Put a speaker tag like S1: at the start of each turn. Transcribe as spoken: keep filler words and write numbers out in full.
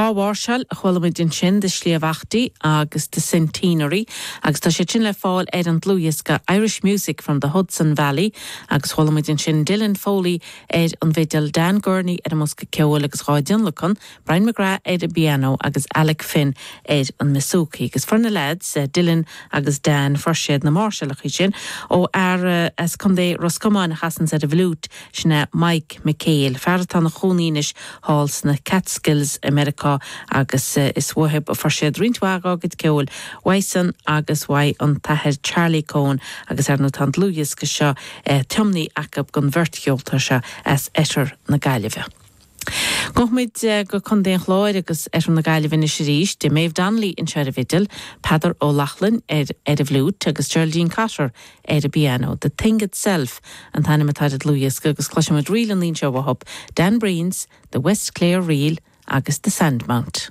S1: Dhá mháirseáil a chuala muid ansin The Sliabh Achty agus The Centenary agus tá sé sin le fáil ar an dlúthdhiosca Irish Music from the Hudson Valley agus chuala muid ansin Dylan Foley ar an bhfidil Dan Gurney ar an mbosca ceoil agus dhá dtionlacan, Brian McGrath ar an bpianó agus Alec Finn ar an mbouzouki. Agus fuair na lads eh, Dylan agus Dan fuair siad na máirseálacha sin ó fhear eh, as Contae Ros Comáin a chasann ar an bhfliúit sin é Mike McHale. Fear atá ina chónaí anois thall sna Catskills i Meiriceá agus eh, is uathu a fuair siad roinnt mhaith dá gcuid ceoil uaidhsean agus uaidh an t-athair Charlie Coen agus ar ndóigh tá an dlúthdhiosca seo eh, tiomnaithe acu don bheirt cheoltóir seo as Oirthear na Gaillimhe. Gabhfaimid eh, go Contae an Chláir agus Oirthear na Gaillimhe anois arís de Maeve Donnelly anseo ar an bhfidil, Peadar Ó Lochlainn ar ar an bhfliúit agus Geraldine Cotter ar an bpianó. The Thing Itself an t-ainm atá ar an dlúthdhiosca agus cloisfimid ríleanna anseo uathu, Dan Breen's, The West Clare Reel agus The Sandmount.